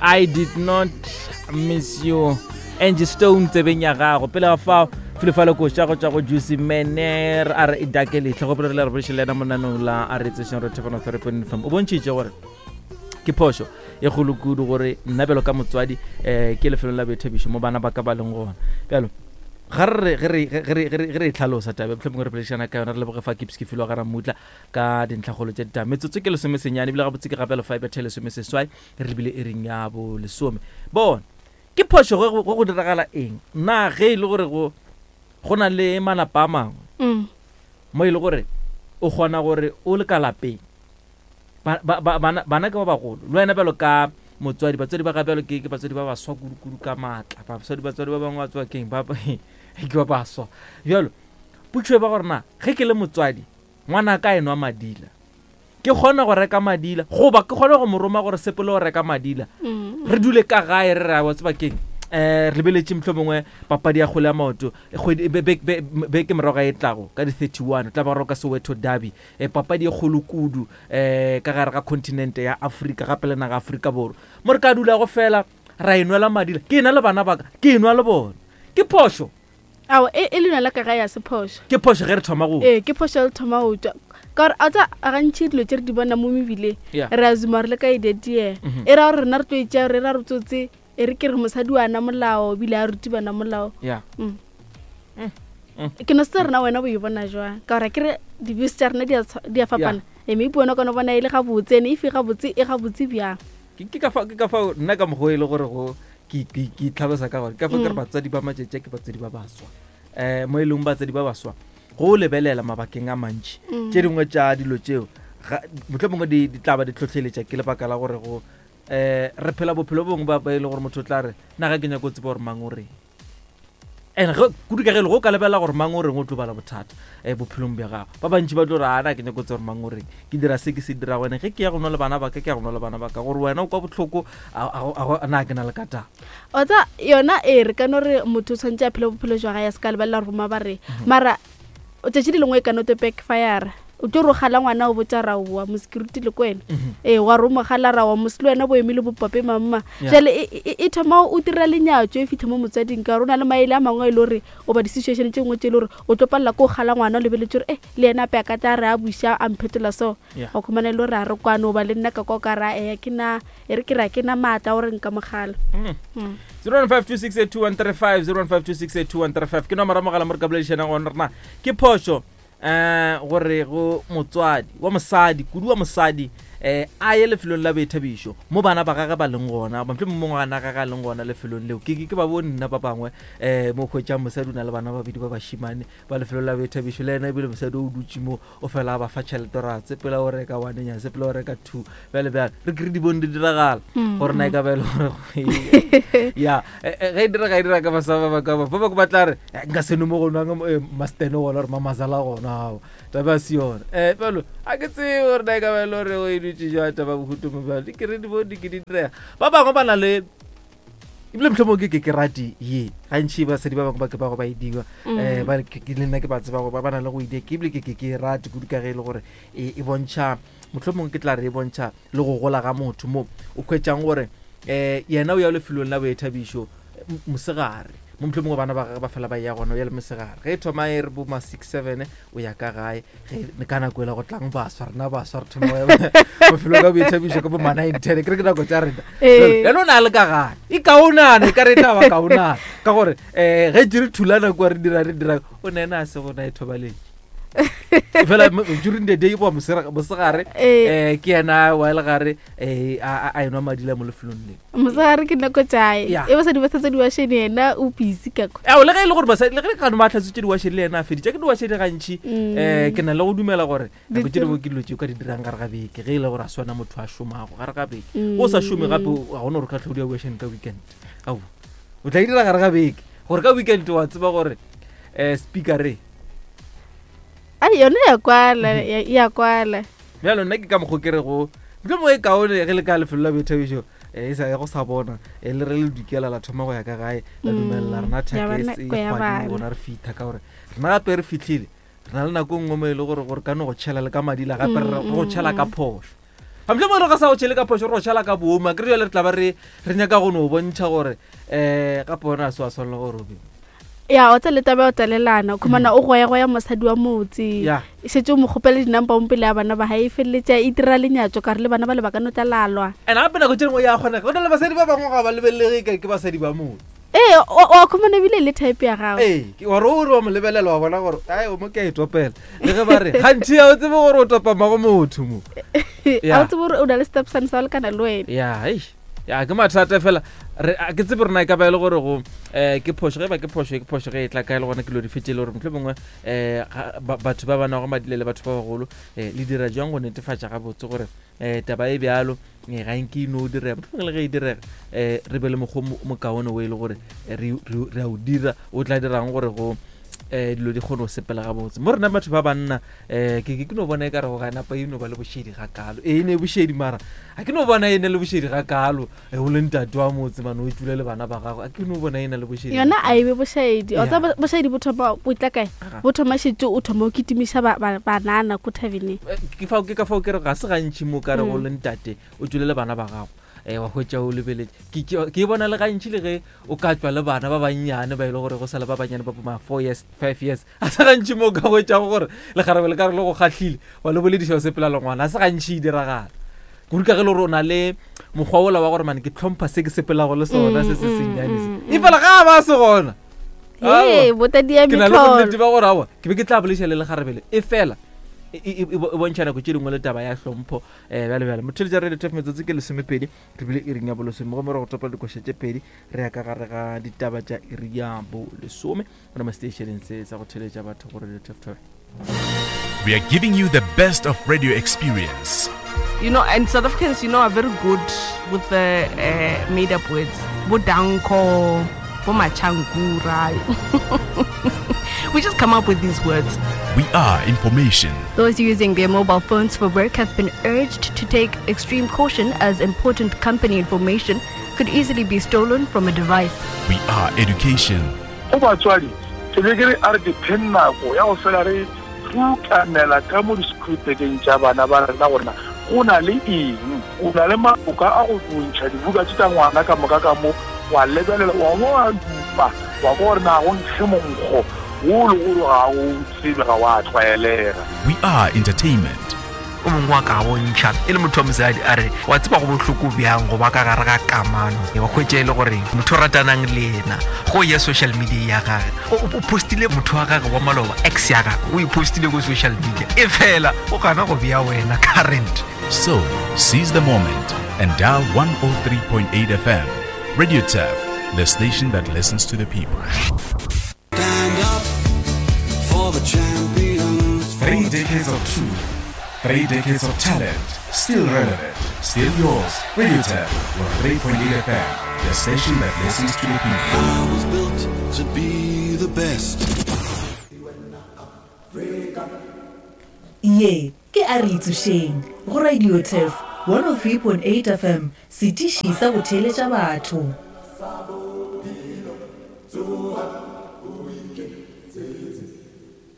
I did not miss you. Angie Stone tsebeng ya gago. Pele ga fao filefale koša go tšwa go Juicy Mener a re e dake letlho go pele re le re bolešele yena monanong la a re tsešeng re thefano therapy fm o bontšhitše gore ke phošo e kgolo kudu gore nna bjalo ka motswadi um ke lefelong la boithabišo mo bana ba ka ba leng gona bjalo ga re ge re ge re ge re e tlhalosa tabe mohlomongwe re boledišana ka yona re leboge fa kips ke filwa ga ramutla ka dintlhakgolo tša ditaba metsotso ke lesomesenyane ebile gabotse ke gape lefa e bethe lesomeseswai re lebile e reng ya bo lesome bona ke phošo ge go go diragala eng na ge e le gore go go na le malapa a mangwe mm. mo e le gore o kgona gore o le ka lapeng Ba, ba, ba, bana, bana ke ba bagolo. Le wena bjalo ka motswadi, batswadi ba ga bjalo ke, ke batswadi ba baswa kudu-kudu ka maatla. Batswadi, batswadi ba bangwe ba tswa keng? Ba, ke ba baswa. Bjalo, potšo e ba gore na, ge ke le motswadi, ngwana ka enwa madila, ke kgona go reka madila, goba ke kgona go mo roma gore sepele go reka madila, mm. re dule ka gae re re wa tseba keng? Eh, re lebeletše mohlomongwe papadi ya kgwele ya maoto kgwedi beke morago ga e tlago ka di-31 tla ba roka Soweto Derby e papadi e kgolo kudu um ka gare ga continente ya Afrika gape le naga Afrika Borwa mo re ka dulago fela ra e nwela madila ke ena le bana baka ke e nwa le bona ke phošo ao e, e le nwela ka gae ya se phošo ke phošo ge re thoma go ee ke phošo le thoma go tšwa ka gore a tsa gantši dilo tse re di bona mo mebileng re a zuma re le ka e detiela mm -hmm. e ra gore rena re tlo e tšea re ra re tsotse e re ke re mosadi wa na molao ebile a ruti bana molao yeah. mm. Mm. Mm. ke no se rena wena bo e bona jwang ka gore ke re di-views tša rena di a fapana yeah. e maybe wena o ka no bona e le gabotse ene efe gabotse e gabotse bjang ke ka fao nna ka mokgwa e le gore go ke itlhalosa ka gore ke ka fao ke re mm. batswadi ba matšatši ke batswadi ba baswa um mo e leng batswadi ba baswa go lebelela mabakeng a mantši mm. tše dingwe tša dilo tšeo motlho mongwe di tla ba di tlhotlheletša ke lebaka la gore go um re phela bophelo bongwe ba e le gore motho o tla re nna ga ke nyako tseba gore mang o reng and ge kudu ka ge le go ka lebelela gore mang o reng o tlo bala bothata um bophelong bja gago ba bantši ba tlo re ana ke nyako tseba gore mang o reng ke dira se ke se dira wena ge ke ya go nwa le bana baka ke ya go nwa le bana baka gore wena o kwa botlhoko na ke na le ka taba o tsa yona ee re ka no re motho o tshwanetse a phele bophelo jwa gae a se ka lebelela gore boma ba reng mhm. mara tšatši le lengwe e ka no to backfire o tlo re gala ngwana o botsa ra oa mosecurity le kwena mhm. ee wa re o mogala ra wa mose le wena bo emile bopape mamma jale e, e, e thoma o dira lenyatso e fitlha mo motswading ka gore o na le maele a mangwe e le gore o ba di-situation tse nngwe tse e le gore o tlo palela ko gala ngwana o lebeletse gore e le ena ape a ka tla re a buša a mphetola so go khumana e le gore a re kwane o ba le nna ka kwa ka ra eya ke na e re ke ra ke na maatla gore nka mogala mm. 0152682135 0152682135 ke nomoro mogala mo re ka boledišanang gona rena ke phošo um gore go motswadi wa mosadi kudu wa mosadi eh a ye lefelong la boithabišo mo bana ba gage ba leng gona motlho mongwe ngwana gage a leng gona lefelong leo ke ke ba bo nna ba bangwe um mo hwetšang mosadi o na le bana ba babedi ba bashimane ba lefelo la boithabišo le ena ebile mosadi o dutše mo o fela a ba fa tšhelete ra sepela o reka one nya sepela o reka two bjale bjale re kere di bone di diragala mm. gore na e ka ba e le gore ya e, e, ge e direga e dira ka basaba ba ka ba ba ba tla re eh, nka seno mo go nwang eh, mastene gona gore mamazala gona ao taba se yona um eh, bjalo a ke tsebe gore na e ka ba e le gore o e dutse jwa taba bohuto mo bjalo di kere di bone di ke di direga ba bangwe ba na le ebile mohlomong ke ke ke rate ye gantši basadi ba bangwe ba ke ba go ba e diwa um mm. ba ke le nna ke ba tseba go ba ba na le go idea ke ebile ke ke ke rate kudu ka ge e le gore e, e bontšha mohlomong ke tla re e bontšha le go gola ga motho mo o hwetšang gore um yena o ya lefelong la boithabišo mosegare mo mohlomongwe bana ba gage ba fela ba ya gona o ya le mosegare ge e thoma e re bo ma 6 7 o ya ka gae ge ka nako ela go tlang baswa rena baswa re thoma mafelo ka boithabišo ka bo ma 9 10 ke re ke nako tša rena Ee. yena o ne a le ka gae e kaonana e ka re e tla ba kaonana ka gore um ge jere thulana kua re dira re dira o ne ena a se gona e thobaletše fela during the day goba mosegare Ee. um ke yena wa le gare um a a enwa madila mo lefelong le mosegare ke nako tšae Ya. e basadi ba tlhatswa diwašene yena o busy ka kwa ao le ge e le gore basadi le ge kano ba tlhatswitse diwašene le yena a feditše ke diwašene gantši um ke na le go dumela gore nako tše dingwe ke dilo tše o ka di dirang gare ga beke ge e le gore a swana motho a šomago gare ga beke o sa šome gape ga gona gore o ka tlhodi ya diwašene ka weekend ao o tla e dira gare ga beke gore ka weekend wa tseba gore um speaker re Ai, yone ya kwala ya ya kwala bjalo nna ke ka mokgo ke rego mohlomongwe e kaone ge le ka lefelo la boithabišo eh, e sa go sa bona eh, le re le dukela la thoma go ya ka gae la dumelela rena ya thakes bana- e ko ya kgwadi bana. gona re fitlha ka gore rena gape re fitlhile re na le nako e nngwe mo e le gore gore ka no go tšhela le ka madila gape re re go tšhela ka phošo. Ga mohlomongwe re ga sa go tšhele ka phošo re go šala ka boomo akere jale re tla ba re re nyaka go no bontšha gore um gape wena a se wa swanela gore o be Ya, wa tseba le taba ya go tlalelana, o khumana o goyagoya mosadi wa motse. Ya. E šetše o mo kgopela di-number mo pele ya bana ba gae, e feleletša e dira lenyatšo ka re le bana bale ba ka no tla lalwa. And gape nako tše dingwe ya kgonega, go na le basadi ba bangwe ga ba lebelelege ka ke basadi ba motse. Ee, o wa khumana ebile e le type ya gago. Ee, ke- wa re o re wa mo lebelela wa bona gore ai o mo ke a e topela. Le ge ba re gantši ga o tsebe gore o topa mmago motho mo. Ga o tsebe gore o na le stepson sa go lekana le wena. Ya, eish. Ya, ke mathata fela. Re, a ke tsebe rena e ka ba e le gore go, eh, ke phošo, ge e ba ke phošo, ke phošo ge e tla kae le gona ke lo di fetše le gore mohlomongwe, eh, ga, ba, batho ba ba nago madile le batho ba bagolo, eh, le dira jwang go netefatša gabotse gore, eh, taba e bjalo, eh, ga nke e no direga. Mohlomongwe le ge e direga, eh, re be le mokgwa o mo, mokaone o e le gore, eh, re, re, re a o dira, o tla dirang gore go, eh, dilo di kgone go sepela gabotse. Mo rena batho ba banna, eh, ke, ke, ke no bona e ka re go ga napa e no ba le bošedi gakalo. Ee, e ne bošedi mara ga ke no bona e ne le bošedi gakalo. E o le ntate wa motse mane o tšule le bana ba gago, a ke no bona e na le bošedi Yona gakalo. a e be bošaedi. Wa Ya. tseba bošaedi bo thoma bo tla kae? Aga. Bo thoma šetše o thoma o kitimiša ba, ba, banana ko thaveneng. Eh, ke fao, ke ka fao ke re ga se gantši mo ka re go le ntate o tšule le bana ba gago, eh, wa hwetša o lebeletše. Ke, ke, ke e bona le gantši le ge o ka tšwa le bana ba bannyane ba e le gore go sa le ba bannyane ba bo ma 4 years, 5 years. A se gantši mo o ka hwetšago gore lekgarebe le ka re le go kgahlile wa le bolediša o sepela le ngwana. A se gantši e diragala. Kudu ka ge le gore o na le mokgwa wola wa gore mane ke tlhompha se ke sepelago le sona se se sennyane se. E fela ga a ba se gona. Ee, Aowa. botadi ya Ke na le mehlolo. bonnete ba gore aowa, ke be ke tla bolediša le lekgarebe le. E fela e, e, e, e bontšha nako tše dingwe le taba ya hlompho, eh, bjale bjale. Motheeletša Radio Turf metsotso ke lesomepedi, re bile iring ya bolesome. Gomme re go topa dikoša tše pedi, re ya ka gare ga ditaba tša iri ya bolesome. Gona mo seteišeneng se sa go theeletša batho go Radio Turf Turf. We are giving you the best of radio experience. You know, and South Africans, you know, are very good with the made up words. Bo danko, bo machangura. We just come up with these words. We are information. Those using their mobile phones for work have been urged to take extreme caution as important company information could easily be stolen from a device. We are education. Go batswadi, ke be ke re a re dipheng nako ya go fela re rukanela ka mo disekhuritekeng tša bana ba rena gore na go na le eng. O na le maloka a go ntšha dibuka tše tša ngwana ka moka ka mo, wa lebelela, wa bo wa dupa, wa kwa gore na go nkge monkgo wo le gore ga o tsebe, ga wa tlwaelega. We are entertainment. O mongwe wa ka bontšha e le motho wa mosadi a re, Wa tseba go bohloko bjang go ba ka gare ga kamano, wa hwetša e le gore motho o ratanang le yena go ya social media ya gage o o postile motho wa gage wa maloba, ex ya gage o e postile ko social media, e fela o gana go bea wena current. So, seize the moment and dial 103.8 FM. Radio Turf, the station that listens to the people. Stand up for the champions. 3 decades of truth, 3 decades of talent, still relevant, still yours. Radio Turf, 103.8 FM, the station that listens to the people. I was built to be the best. Ye ke a re itsošeng go Radio Turf 103.8 FM, setiši sa go theeletša batho.